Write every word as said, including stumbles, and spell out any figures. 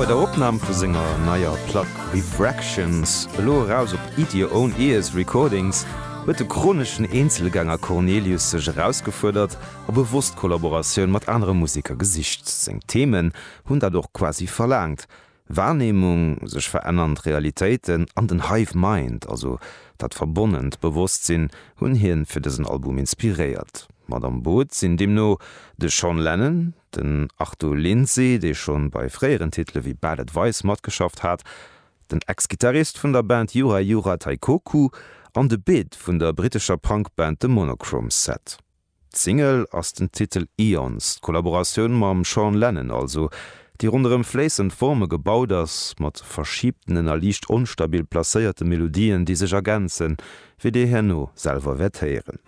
Bei der Opnam vu senger neier Plack Refractions, elo eraus op Eat Your Own Ears Recordings, huet de chroneschen Eenzelgänger Cornelius sech erausgefuerdert a bewosst Kollaboratioun mat anere Museker gesicht. Seng Themen hunn dat och quasi verlaangt. Wahrnehmung, sech verännernd Realitéiten an den Hive Mind, also dat verbonnent Bewosstsinn, hunn hien fir dësen Album inspiréiert. Mat am Boot sinn deemno de Sean Lennon, den Arto Lindsay, dee schonn bei fréieren Titele wéi Bad Advice matgeschafft hat, den Ex-Gittarist vun der Band Yura Yura Taikoku an de Bid vun der brittescher Punkband The Monochrome Set. D'Single ass den Titel Eons, d'Kollaboratioun mam Sean Lennon also, déi ronderëm fléissend Forme gebaut ass, mat verschibtenen a liicht onstabil placéierte Melodien, déi sech ergänzen, wéi dir herno selwer wäert héieren.